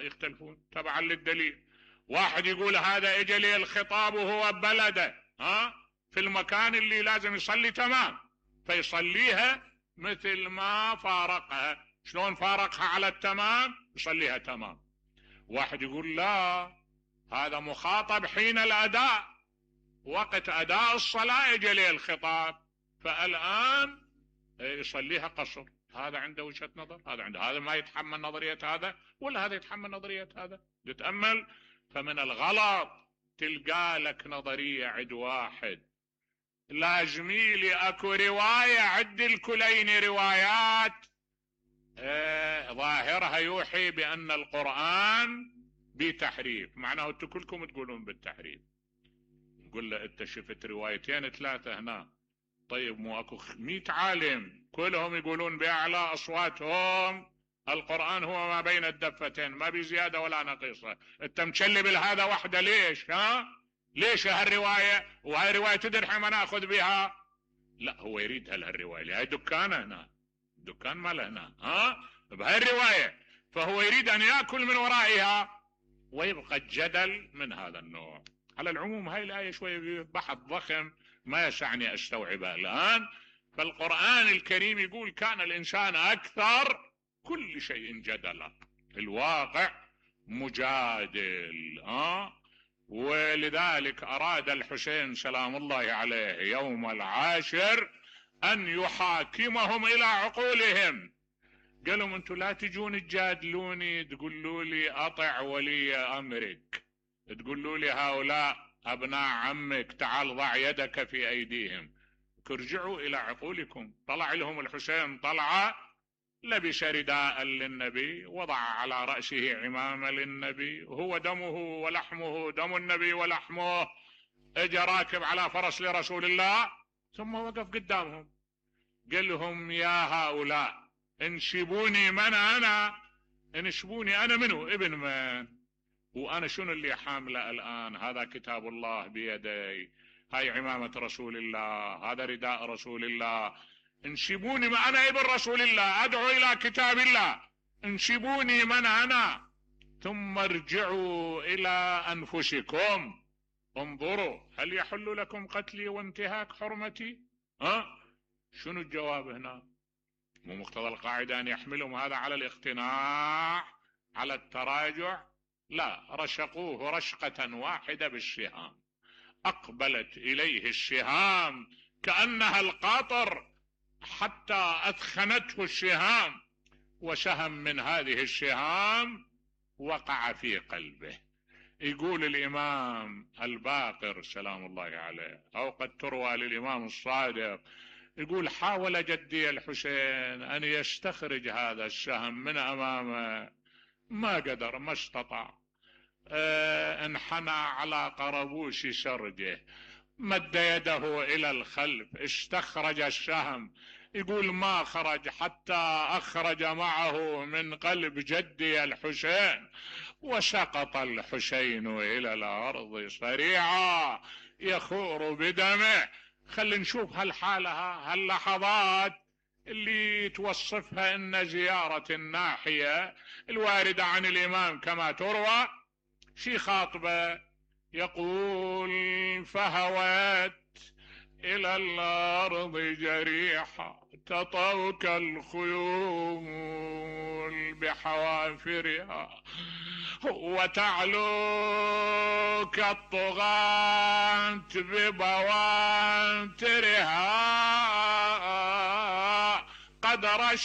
يختلفون تبعا للدليل. واحد يقول هذا اجى لي الخطاب وهو ببلده في المكان اللي لازم يصلي تمام، فيصليها مثل ما فارقها. شلون فارقها على التمام؟ يصليها تمام. واحد يقول لا، هذا مخاطب حين الاداء، وقت اداء الصلاة اجى لي الخطاب، فالان يصليها قصر. هذا عنده وجهة نظر، هذا عنده، هذا ما يتحمل نظرية هذا ولا هذا يتحمل نظرية هذا. تتأمل، فمن الغلط تلقى لك نظرية عد واحد. لازمي لي اكو رواية عد الكلين روايات ظاهرها يوحي بان القرآن بتحريف، معناه انتم كلكم تقولون بالتحريف. نقول له انت شفت روايتين ثلاثة هنا، طيب مو اكو 100 عالم كلهم يقولون باعلى اصواتهم القرآن هو ما بين الدفتين، ما بزيادة ولا نقيصة، انت مشلب لهذا وحده ليش؟ ليش هالرواية؟ وهاي رواية تدري ما ناخذ بها؟ لا، هو يريد هالرواية، هاي دكانه هنا، دكان ماله هنا بهاي الرواية، فهو يريد ان يأكل من ورائها، ويبقى الجدل من هذا النوع. على العموم هاي الآية شوية بحث ضخم ما يسعني استوعبها الآن. فالقرآن الكريم يقول كان الإنسان أكثر كل شيء جدلا، الواقع مجادل. ولذلك أراد الحسين سلام الله عليه يوم العاشر أن يحاكمهم إلى عقولهم. قالوا انتم لا تجون تجادلوني تقولوا لي أطع ولي أمرك، تقولوا لي هؤلاء أبناء عمك تعال ضع يدك في أيديهم، ارجعوا إلى عقولكم. طلع لهم الحسين طلعة، لبس رداء للنبي، وضع على رأسه عمامة للنبي، هو دمه ولحمه دم النبي ولحمه، اجى راكب على فرس لرسول الله، ثم وقف قدامهم قال لهم يا هؤلاء انشبوني من أنا، انشبوني أنا منه ابن من، وأنا شنو اللي حامله الآن؟ هذا كتاب الله بيدي، هاي عمامة رسول الله، هذا رداء رسول الله، انشبوني ما أنا ابن رسول الله، أدعو إلى كتاب الله، انشبوني من أنا، ثم ارجعوا إلى أنفسكم، انظروا هل يحل لكم قتلي وانتهاك حرمتي؟ شنو الجواب هنا؟ مو مقتضى القاعدة أن يحملهم هذا على الاقتناع على التراجع؟ لا، رشقوه رشقة واحدة بالشهام، أقبلت إليه الشهام كأنها القاطر حتى أثخنته الشهام، وسهم من هذه الشهام وقع في قلبه. يقول الإمام الباقر سلام الله عليه، أو قد تروى للإمام الصادق، يقول حاول جدي الحسين أن يستخرج هذا السهم من أمامه، ما قدر، ما استطاع، انحنى على قربوش سرجه، مد يده إلى الخلف، استخرج السهم، يقول ما خرج حتى أخرج معه من قلب جدي الحسين، وسقط الحسين إلى الأرض صريعا يخور بدمه. خلينا نشوف هالحالة، هاللحظات اللي توصفها إن زيارة الناحية الواردة عن الإمام كما تروى، شي خاطبة يقول فهوت إلى الأرض جريحة تطوك الخيول بحوافرها، وتعلوك الطغاة ببواترها، قد رش